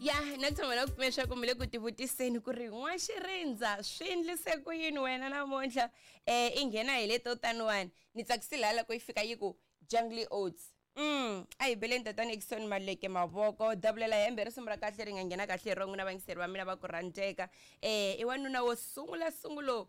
Ya na tshama na ku pfumela leswaku mi le ku tivutiseni ku ri n'waxirindza swi endlise ku yini wena namuntlha i nghena hi leto taniwani. Ni tsakisile hala loko yi fika yi ku Jungle Oats. A hi beleni tatana Eckson Maleke mavoko dabulela hembe risimu ra kahle ri nga nghena kahle hi ro n'wina vayingiseri va mina va ku rhandzeka. I wanuna wo sungula sungulo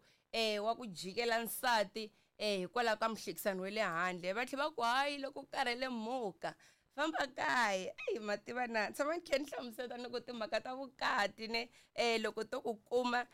wa ku jikela nsati hikwalaho ka muhlekisani wa le handle. Va tlhela va ku hayi loko u karhele muka famba kaya. Eyi ma tiva na tshama ni khe ni hlamusela ni ku timhaka ta vukati ne loko to ku kuma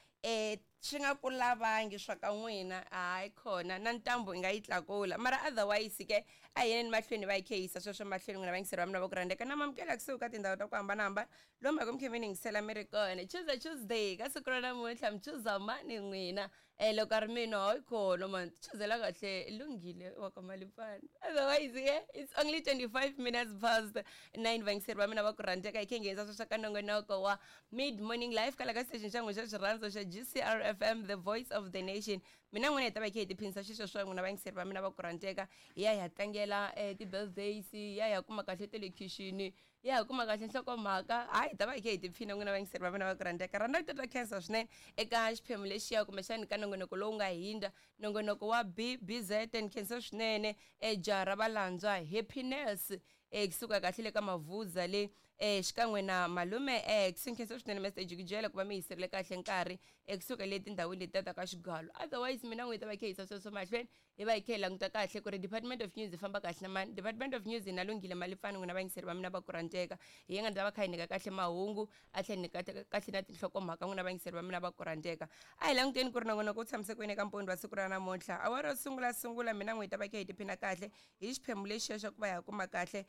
swi nga ku lavangi swa ka n'wina hayi khona na ntambu i nga yi tlakula mara otherwise ke a hi yeni mahlweni va yi khe yisa sweswo mahlweni n'wina vayingiseri va mina va ku rhandzeka na mamukela kusuhi ka tindhawu ta ku hambanahambana lomu mhaka mi khe mi ni yingisela mi ri kona. Tuesday Tuesday ka siku ra namuntlha mi chuza mani n'wina? Loko a ri mina hayi khona mani chuzela kahle lunghile wa ka Malipfana. Otherwise yeah, it's only 25 minutes past 9 vayingiseri va mina va ku rhandzeka hi khe nghenisa sweswo ka nongonoko wa Mid Morning Life kala ka station xa n'wina xa xirhandzo xa GCR FM, the voice of the nation. Mina n'wina hi ta va hi khe hi tiphinisa xisweswo n'wina vayingiseri va mina va ku rhandzeka hi ya hi ya tlangela ti-birthdays, hi ya hi ya kuma kahle ta le khixini, ya ha kuma kahle nhlokomhaka. Hayi hi ta va hi khe hi tiphina n'wina vayingiseri va mina va ku rhandzeka. Rhandza ku titwa khensa swinene eka xiphemu lexiya kumbexani ka nongonoko lowu nga hindza nongonoko wa BBZ. Ni khensa swinene jaha ra valandzwa Happiness kusuka kahle le ka Mavuza le xikan'we na malume X. Ni khensa swinene Mr Jikijela ku va mi yiserile kahle nkarhi kusuka le tindhawini letiya ta ka Xigalo. Otherwise mina n'wi ta va khe yisa sweswo mahlweni hi va hi khe hi languta kahle ku ri Department of News yi famba kahle na mani. Department of News na Lunghile Malipfani n'wina vayingiseri va mina va ku rhandzeka hi ye nga ta va kha hi nyika kahle mahungu a tlhela nyika kahle na tinhlokomhaka n'wina vayingiseri va mina va ku rhandzeka. A hi languteni ku ri nongonoko wu tshamise ku yini eka mpondo wa siku ra namuntlha. Awara yo sungula sungula mina n'wi hi ta va khe hi tiphina kahle hi xiphemu lexiya xa ku va hi kuma kahle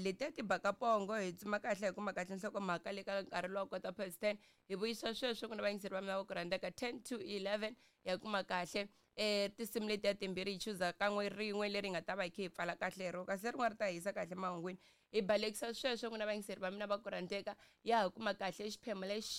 letiya ti baka pongo hi tsuma kahle hi kuma kahle nhlokomhaka le ka nkarhi lowa kota past 10 hi vuyisa sweswo n'wina vayingiseri va mina va ku rhandzeka 10 to 11 ya kuma kahle tinsimu letiya timbirhi hi chuza kan'we rin'we leri nga ta va hi khe hi pfala kahle hi ro kasi lerin'wana ri ta hi yisa kahle mahungwini hi balekisa sweswo n'wina vayingiseri va mina va ku rhandzeka ya ha kuma kahle xiphemu lexi.